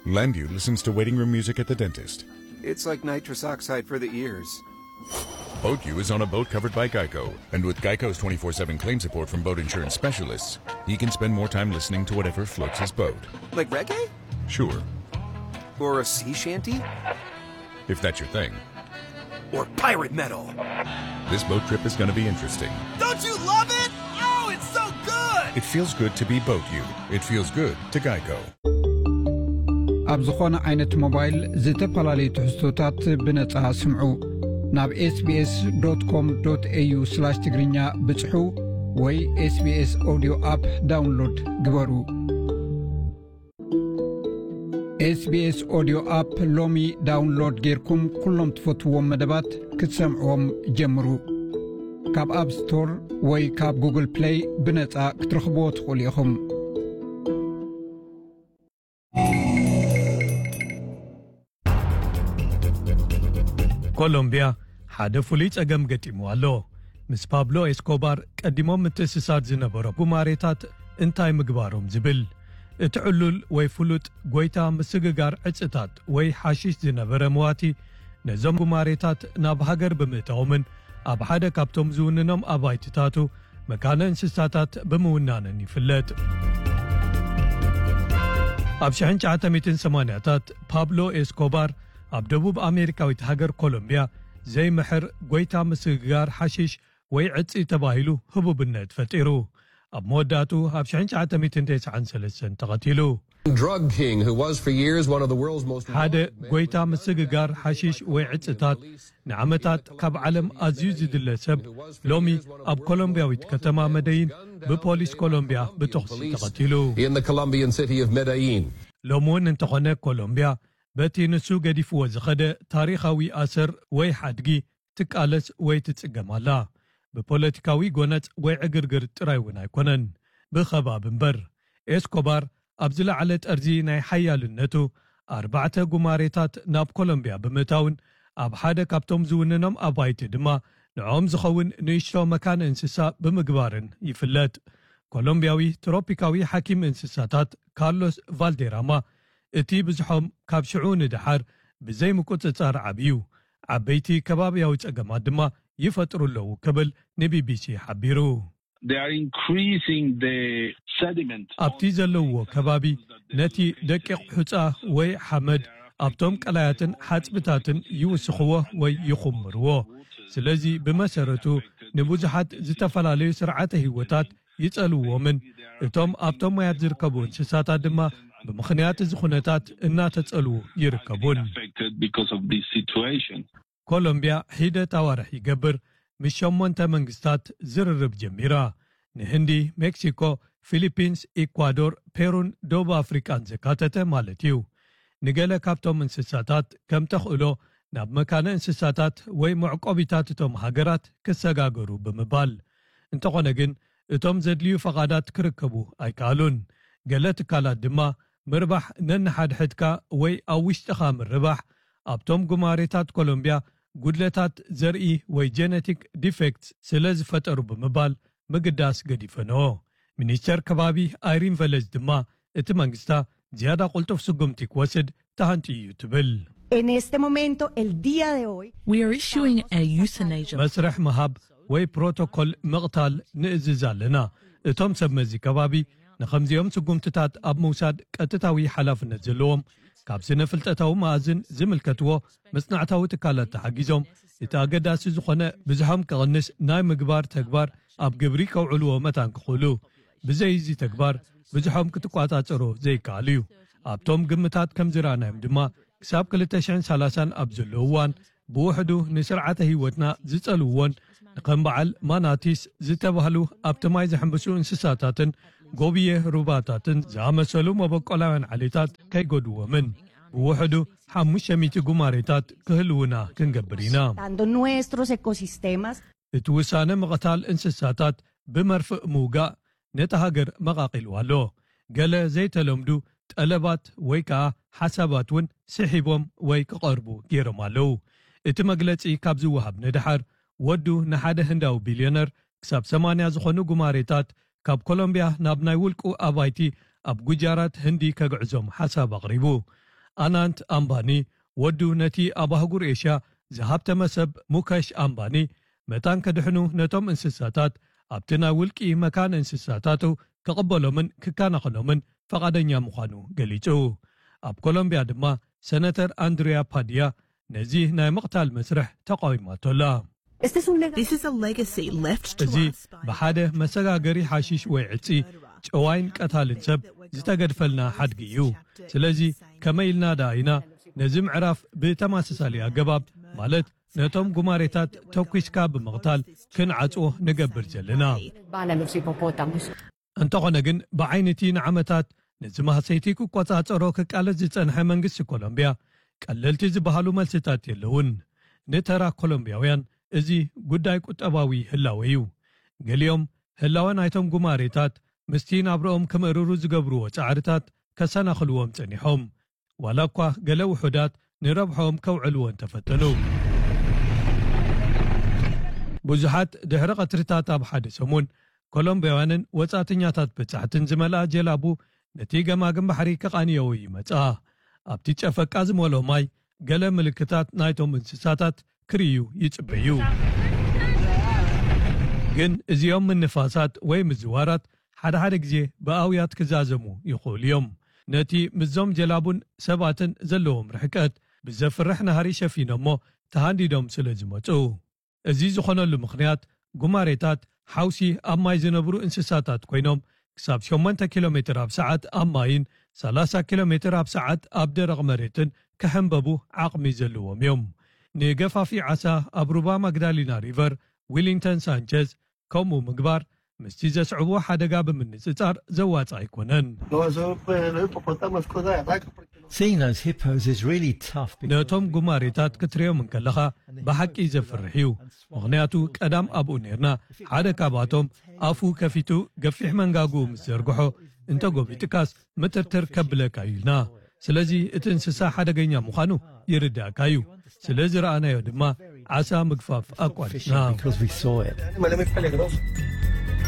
Landview listens to waiting room music at the dentist. It's like nitrous oxide for the ears. Boat U is on a boat covered by Geico. And with Geico's twenty-four seven claim support from boat insurance specialists, he can spend more time listening to whatever floats his boat. Like reggae? Sure, Or a sea shanty? If that's your thing. Or pirate metal? This boat trip is going to be interesting. Don't you love it? Oh, it's so good! It feels good to be Boat U. It feels good to Geico. ኣብ ዝኾነ ዓይነት ሞባይል ዝተፈላለዩ ትሕዝቶታት ብነጻ ስምዑ። ናብ ኤስቢኤስ ዶት ኮም ዶት ኤዩ ስላሽ ትግርኛ ብጽሑ ወይ ኤስቢኤስ ኦዲዮ ኣፕ ዳውንሎድ ግበሩ። ኤስቢኤስ ኦዲዮ ኣፕ ሎሚ ዳውንሎድ ጌርኩም ኩሎም ትፈትዎም መደባት ክትሰምዕዎም ጀምሩ። ካብ ኣፕ ስቶር ወይ ካብ ጉግል ፕለይ ብነጻ ክትረኽብዎ ትኽእሉ ኢኹም። ኮሎምቢያ ሓደ ፍሉይ ጸገም ገጢሙ ኣሎ። ምስ ፓብሎ ኤስኮባር ቀዲሞም ምትእስሳር ዝነበሮ ጉማሬታት እንታይ ምግባሮም ዝብል። እቲ ዕሉል ወይ ፍሉጥ ጎይታ ምስግጋር ዕጽታት ወይ ሓሽሽ ዝነበረ መዋቲ ነዞም ጉማሬታት ናብ ሃገር ብምእታዎምን ኣብ ሓደ ካብቶም ዝውንኖም ኣባይትታቱ መካነ እንስሳታት ብምውናንን ይፍለጥ። ኣብ ሽሕን ትሽዓተ ሚእትን ሰማንያታት ፓብሎ ኤስኮባር ኣብ ደቡብ ኣሜሪካዊት ሃገር ኮሎምቢያ ዘይምሕር ጎይታ ምስግጋር ሓሽሽ ወይ ዕጺ ተባሂሉ ህቡብነት ፈጢሩ። ኣብ መወዳእቱ ኣብ ሽሕን ትሽዓተ ሚእትን ተስዓን ሰለስተን ተቐቲሉ። Drug king, who was for years one of the world's most ሓደ ጎይታ ምስግጋር ሓሽሽ ወይ ዕጽታት ንዓመታት ካብ ዓለም ኣዝዩ ዝድለ ሰብ ሎሚ ኣብ ኮሎምቢያዊት ከተማ መደይን ብፖሊስ ኮሎምቢያ ብተኹሲ ተቐቲሉ። In the Colombian city of Medellin. ሎሚ እውን እንተኾነ ኮሎምቢያ በቲ ንሱ ገዲፍዎ ዝኸደ ታሪኻዊ ኣሰር ወይ ሓድጊ ትቃለስ ወይ ትጽገም ኣላ። ብፖለቲካዊ ጎነጽ ወይ ዕግርግር ጥራይ እውን ኣይኮነን፣ ብኸባብ እምበር። ኤስኮባር ኣብ ዝለዓለ ጠርዚ ናይ ሓያልነቱ ኣርባዕተ ጉማሬታት ናብ ኮሎምቢያ ብምእታውን ኣብ ሓደ ካብቶም ዝውንኖም ኣባይቲ ድማ ንዕኦም ዝኸውን ንእሽቶ መካነ እንስሳ ብምግባርን ይፍለጥ። ኮሎምቢያዊ ትሮፒካዊ ሓኪም እንስሳታት ካርሎስ ቫልዴራማ እቲ ብዝሖም ካብ ሽዑ ንደሓር ብዘይ ምቁጽጻር ዓብዩ፣ ዓበይቲ ከባብያዊ ጸገማት ድማ ይፈጥሩ ኣለዉ ክብል ንቢቢሲ ሓቢሩ። They are increasing the sediment. ኣብቲ ዘለውዎ ከባቢ ነቲ ደቂቕ ሑጻ ወይ ሓመድ ኣብቶም ቀላያትን ሓጽብታትን ይውስኽዎ ወይ ይኹምርዎ። ስለዚ ብመሰረቱ ንብዙሓት ዝተፈላለዩ ስርዓተ ህይወታት ይጸልውዎምን እቶም ኣብቶም ማያት ዝርከቡ እንስሳታት ድማ ብምኽንያት እዚ ኩነታት እናተጸልዉ ይርከቡን። Affected because of this situation. ኮሎምቢያ ሒደት ኣዋርሕ ይገብር ምስ ሸሞንተ መንግስታት ዝርርብ ጀሚራ። ንህንዲ፣ ሜክሲኮ፣ ፊሊፒንስ፣ ኢኳዶር፣ ፔሩን ደቡብ ኣፍሪቃን ዘካተተ ማለት እዩ። ንገለ ካብቶም እንስሳታት ከም ተኽእሎ ናብ መካነ እንስሳታት ወይ መዕቆቢታት እቶም ሃገራት ክሰጋገሩ ብምባል። እንተኾነ ግን እቶም ዘድልዩ ፈቓዳት ክርከቡ ኣይከኣሉን። ገለ ትካላት ድማ ምርባሕ ነንሓድሕድካ ወይ ኣብ ውሽጥኻ ምርባሕ ኣብቶም ጉማሬታት ኮሎምቢያ ጉድለታት ዘርኢ ወይ ጀነቲክ ዲፌክትስ ስለ ዝፈጠሩ ብምባል ምግዳስ ገዲፈንኦ። ሚኒስተር ከባቢ ኣይሪን ቨለዝ ድማ እቲ መንግስታ ዝያዳ ቁልጡፍ ስጉምቲ ክወስድ ተሃንጥዩ እዩ ትብል። En este momento, el día de hoy, We are issuing a euthanasia. መስርሕ ምሃብ ወይ ፕሮቶኮል ምቕታል ንእዝዝ ኣለና። እቶም ሰብ መዚ ከባቢ ንኸምዚኦም ስጉምትታት ኣብ ምውሳድ ቀጥታዊ ሓላፍነት ዘለዎም ካብ ስነ ፍልጠታዊ መኣዝን ዝምልከትዎ መጽናዕታዊ ትካላት ተሓጊዞም እቲ ኣገዳሲ ዝኾነ ብዝሖም ክቕንስ ናይ ምግባር ተግባር ኣብ ግብሪ ከውዕልዎ መታን ክኽእሉ። ብዘይ እዚ ተግባር ብዝሖም ክትቋጻጸሮ ዘይከኣል እዩ። ኣብቶም ግምታት ከም ዝረኣናዮም ድማ ክሳብ ክልተ ሽሕን ሰላሳን ኣብ ዘሎ እዋን ብውሕዱ ንስርዓተ ህይወትና ዝጸልውዎን ንከም በዓል ማናቲስ ዝተባህሉ ኣብቲ ማይ ዝሕምብሱ እንስሳታትን ጎብየ ሩባታትን ዝኣመሰሉ መበቆላውያን ዓሌታት ከይጎድዎምን ብውሕዱ ሓሙሽተ ሚእቲ ጉማሬታት ክህልውና ክንገብር ኢና። Dando nuestros ecosistemas. እቲ ውሳነ ምቕታል እንስሳታት ብመርፍእ ምውጋእ ነቲ ሃገር መቓቒሉ ኣሎ። ገለ ዘይተለምዱ ጠለባት ወይ ከኣ ሓሳባት እውን ስሒቦም ወይ ክቐርቡ ገይሮም ኣለዉ። እቲ መግለጺ ካብ ዝወሃብ ንደሓር ወዱ ንሓደ ህንዳዊ ቢልዮነር ክሳብ ሰማንያ ዝኾኑ ጉማሬታት ካብ ኮሎምቢያ ናብ ናይ ውልቁ ኣባይቲ ኣብ ጉጃራት ህንዲ ከግዕዞም ሓሳብ ኣቕሪቡ። ኣናንት ኣምባኒ፣ ወዱ ነቲ ኣብ ኣህጉር ኤሽያ ዝሃብተመ ሰብ ሙከሽ ኣምባኒ፣ መታን ከድሕኑ ነቶም እንስሳታት ኣብቲ ናይ ውልቂ መካን እንስሳታቱ ክቕበሎምን ክከናኸኖምን ፈቓደኛ ምዃኑ ገሊጹ። ኣብ ኮሎምቢያ ድማ ሰነተር ኣንድሪያ ፓድያ ነዚ ናይ ምቕታል መስርሕ ተቃዊማቶ ኣላ። This is a legacy left to እዚ us by ብሓደ መሰጋገሪ ሓሺሽ ወይ ዕጺ ጨዋይን ቀታልን ሰብ ዝተገድፈልና ሓድጊ እዩ። ስለዚ ከመይ ኢልና ደኣ ኢና ነዚ ምዕራፍ ብተመሳሳሊ ኣገባብ፣ ማለት ነቶም ጉማሬታት ተኲስካ ብምቕታል ክንዓጽዎ ንገብር ዘለና? እንተኾነ ግን ብዓይኒ እቲ ንዓመታት ነዚ ማህሰይቲ ክቆጻጸሮ ክቃለስ ዝጸንሐ መንግስቲ ኮሎምቢያ ቀለልቲ ዝበሃሉ መልስታት የለውን። ንተራ ኮሎምቢያውያን እዚ ጉዳይ ቁጠባዊ ህላወ እዩ። ገሊኦም ህላወ ናይቶም ጉማሬታት ምስቲ ናብርኦም ክምእርሩ ዝገብርዎ ጻዕርታት ከሰናኽልዎም ጸኒሖም። ዋላ እኳ ገለ ውሑዳት ንረብሖም ከውዕልዎ እንተፈተኑ። ብዙሓት ድሕሪ ቀትርታት ኣብ ሓደ ሰሙን ኮሎምቢያውያንን ወጻእተኛታት በጻሕትን ዝመልኣ ጀላቡ ነቲ ገማግም ባሕሪ ክቓንየዎ ይመጻ። ኣብቲ ጨፈቃ ዝመልኦ ማይ ገለ ምልክታት ናይቶም እንስሳታት ክርእዩ ይጽበዩ። ግን እዚኦም ምንፋሳት ወይ ምዝዋራት ሓደ ሓደ ግዜ ብኣውያት ክዛዘሙ ይኽእሉ እዮም። ነቲ ምስዞም ጀላቡን ሰባትን ዘለዎም ርሕቀት ብዘፍርሕ ናህሪ ሸፊኖሞ ተሃንዲዶም ስለ ዝመጹ። እዚ ዝኾነሉ ምኽንያት ጉማሬታት ሓውሲ ኣብ ማይ ዝነብሩ እንስሳታት ኮይኖም ክሳብ ሸሞንተ ኪሎ ሜትር ኣብ ሰዓት ኣብ ማይን ሰላሳ ኪሎ ሜትር ኣብ ሰዓት ኣብ ደረቕ መሬትን ክሕንበቡ ዓቕሚ ዘለዎም እዮም። ንገፋፊ ዓሳ ኣብ ሩባ ማግዳሊና ሪቨር ዊሊንግተን ሳንቸዝ ከምኡ ምግባር ምስቲ ዘስዕቦ ሓደጋ ብምንጽጻር ዘዋጽእ ኣይኮነን። No, eso, pues, los hipopótamos, cosas de raca, porque no Seeing those hippos is really tough because ነቶም ጉማሬታት ክትሪኦም እንከለኻ ብሓቂ ዘፍርሕ እዩ። ምኽንያቱ ቀዳም ኣብኡ ነርና ሓደ ካብኣቶም ኣፉ ከፊቱ ገፊሕ መንጋግኡ ምስ ዘርግሖ እንተጎቢጥካስ ምትርትር ከብለካ እዩ ኢልና። ስለዚ እቲ እንስሳ ሓደገኛ ምዃኑ ይርዳእካ እዩ። ስለ ዝረኣናዮ ድማ ዓሳ ምግፋፍ ኣቋሪጽና። because we saw it. animal es muy peligroso.